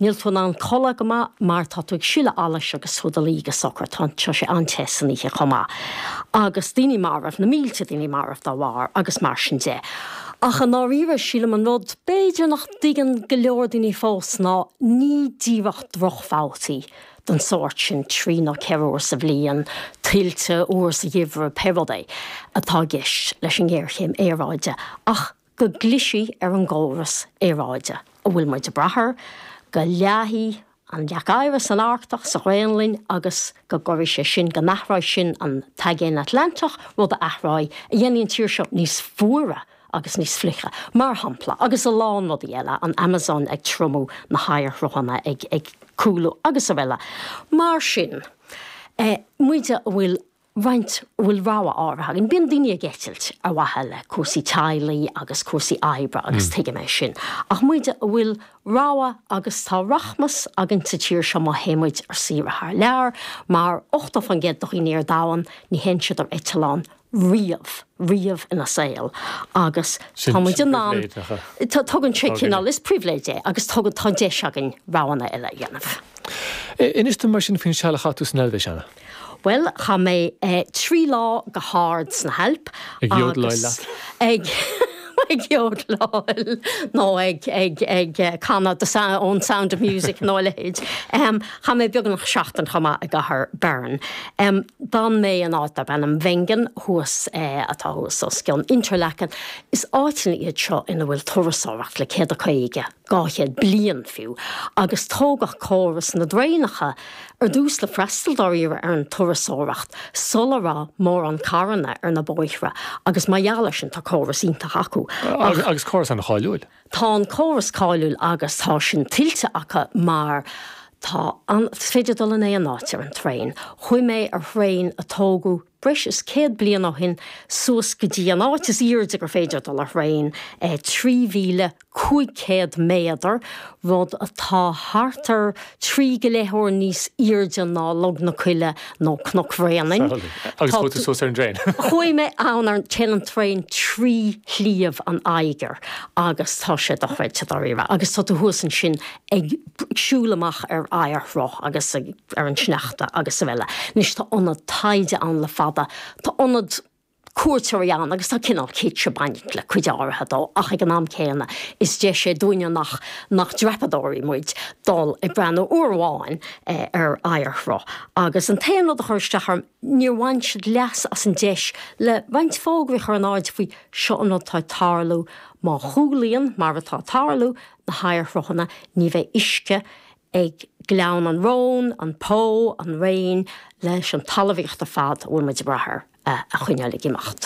Níl tú in ann codladh go maith mar tá tú ag sileadh allais agus tú i do luí go socair. Tá tá sé an-te san oíche chomh maith. Agus daoine marbh, na mílte daoine marbh dá bharr agus mar sin de. Ach i ndáiríre, sílim an rud b'fhéidir nach dtuigeann go leor daoine fós ná ní díreach drochbhabhtaí den sórt sin, 3 nó 4 uair sa bhliain, tuilte uair sa gheimhreadh, pé rud é, atá i gceist leis an ngéarchéim aeráide ach go gclisfidh ar an gcóras aeráide a bhfuil muid ag brath air, go leáfaidh an leac oighir san Arctach, sa Ghraonlainn agus go gcuirfidh sé sin, go n-athróidh sin an tAigéan Atlantach, rud a athróidh, a dhéanfaidh an tír seo níos fuaire agus níos fliche, mar shampla, agus a lán rudaí eile, an Amazon ag triomú, na hoighearshruthanna ag ag cúlú agus araile. Mar sin, muide a bhfuil roinnt, a bhfuil rogha áirithe againn, bíonn daoine ag eitilt ar mhaithe le cúrsaí teaghlaigh agus cúrsaí oibre agus tuigim é sin, ach muide a bhfuil rogha agus tá rachmas againn sa tír seo má théann muid ar saoire thar lear, mar 80% de dhaoine ar domhan, ní théann siad ar eitleán riamh, riamh ina saol agus tá muid in ann, tugann sé cineál, is pribhléid é agus tugann, tá deis againn roghanna eile a dhéanamh. Inis dom mar sin faoin seal a chaith tú san Eilvéis, Anna. Bhuel, chaith mé 3 lá go hard sna hAilp Ag jódláil leat? Ag ag jódláil nó ag ag ag canadh the sound ón Sound of Music nó a leithéid. Chaith mé beagnach seachtain chomh maith i gcathair Bern. D'fhan mé in áit darb ainm Wengen thuas, atá thuas os cionn Interlaken. Is áiteanna iad seo ina bhfuil turasóireacht le 150, 200 bliain fiú, agus tógadh córas na dtraenacha ar dtús le freastal dáiríre ar an turasóireacht sula raibh mórán carranna ar na bóithre agus mar gheall air sin tá córas iontach acu. Ach. Agus córas an-cháiliúil. Tá an córas cáiliúil agus tá sin tuillte acu mar tá an, is féidir dul in aon áit ar an traein. Chuaigh mé ar thraein a tógadh breis is 100 bliain ó shin suas go dtí an áit is airde gur féidir dul ar thraein, 3,500 méadar, rud atá thart ar thrí go leith uair níos airde ná Log na Coille nó Cnoc Bhréanainn. Agus chuaigh tú suas ar an dtraein? Chuaigh mé ann ar an, téann an traein trí Shliabh an Eiger agus tá sé dochreidte dáiríre. Agus tá tú thuas ansin ag siúl amach ar oighearshruth agus ar an sneachta agus araile. Anois tá ionad taighde ann le fada, tá ionad cuairteoirí ann agus tá cineál kitsch ag baint le cuid áirithe dó ach ag an am céanna is deis é dúinne nach nach dreapadóirí muid dul ag breathnú uair amháin ar oighearshruth. Agus an t-aon rud a chuir isteach orm, níor bhain siad leas as an deis le roinnt fógraí a chur in airde faoi seo an rud atá ag tarlú, má chúlaíonn, mar atá ag tarlú, na hoighearshruthanna, ní bheidh uisce ag Gleann an Róin, an Po, an Réin, leis an talmhaíocht ar fad a bhfuil muid ag brath air a choinneáil ag imeacht.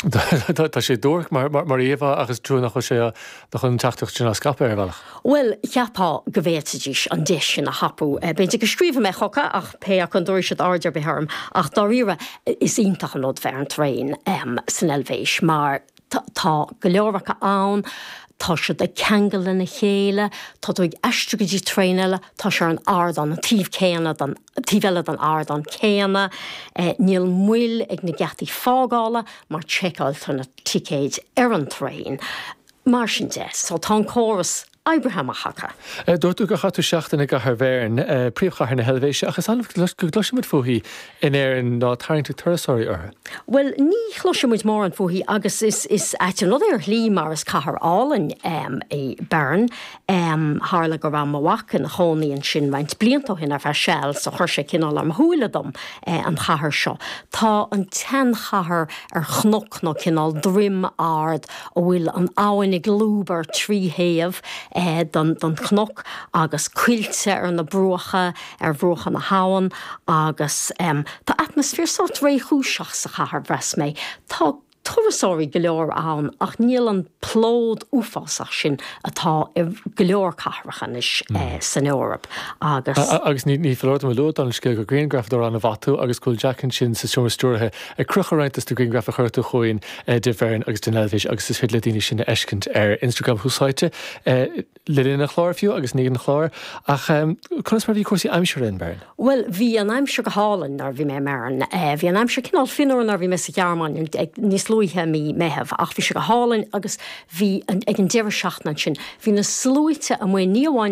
Tá sé duairc mar íomhá ach is trua nach bhfuil sé, nach bhfuil an teachtaireacht sin á scaipeadh ar bhealach. Bhuel, cheapfá go bhféadfaidís an deis sin a thapú. B'fhéidir go scríobfaidh mé chucu ach pé acu an dtabharfaidh siad aird ar bith orm. Ach dáiríre, is iontach an rud bheith ar an traein san Eilvéis mar Tá go leor acu ann, tá siad ag ceangal lena chéile, tá tú ag aistriú go dtí traein eile, tá sé ar an ardán, an taobh céanna den, taobh eile den ardán céanna. Níl moill ag na geataí fágála mar seiceáiltear na ticéid ar an traein. Mar sin de, so tá an córas oibrithe amach acu. Dúirt tú gur chaith tú seachtain i gcathair Bheirn, príomhchathair na hEilvéise, ach is annamh go gcloisimid fúithi in Éirinn ná tarraingt ag turasóirí uirthi. Bhuel, ní chloiseann muid mórán fúithi agus is is ait an rud é ar shlí mar is cathair álainn í Bern. Tharla go raibh mo mhac ina chónaí ansin roinnt blianta ó shin ar feadh seal so chuir sé cineál ar mo shúile dom an chathair seo. Tá an tseanchathair ar chnoc nó cineál droim ard a bhfuil an abhainn ag lúbadh ar thrí thaobh den chnoc agus coillte ar na bruacha, ar bhruacha na habhann agus tá atmaisféar sórt réchúiseach sa chathair, mheas mé. Tá turasóirí go leor ann ach níl an plód uafásach sin atá i go leor cathracha anois san Eoraip agus. Agus ní foláir dom a lua, dála an scéil, gur grianghrafadóir an-mhaith tú agus go bhfuil Jack ansin sa seomra stiúrtha ag crochadh roinnt dos na grianghraif a chuir tú chugainn de Bheirn agus den Eilvéis agus is féidir le daoine sin a fheiscint ar Instagram thuas áite le linn an chláir fiú agus i ndiaidh an chláir. Ach conas mar a bhí cúrsaí aimsire in Bern? Bhuel, bhí an aimsir go hálainn nuair a bhí mé i mBern. Bhí an aimsir cineál fionnuar nuair a bhí mé sa Ghearmáin níos luaithe i mí Meitheamh ach bhí sé go hálainn agus bhí, ag an deireadh seachtaine ansin, bhí na sluaite amuigh ní amháin.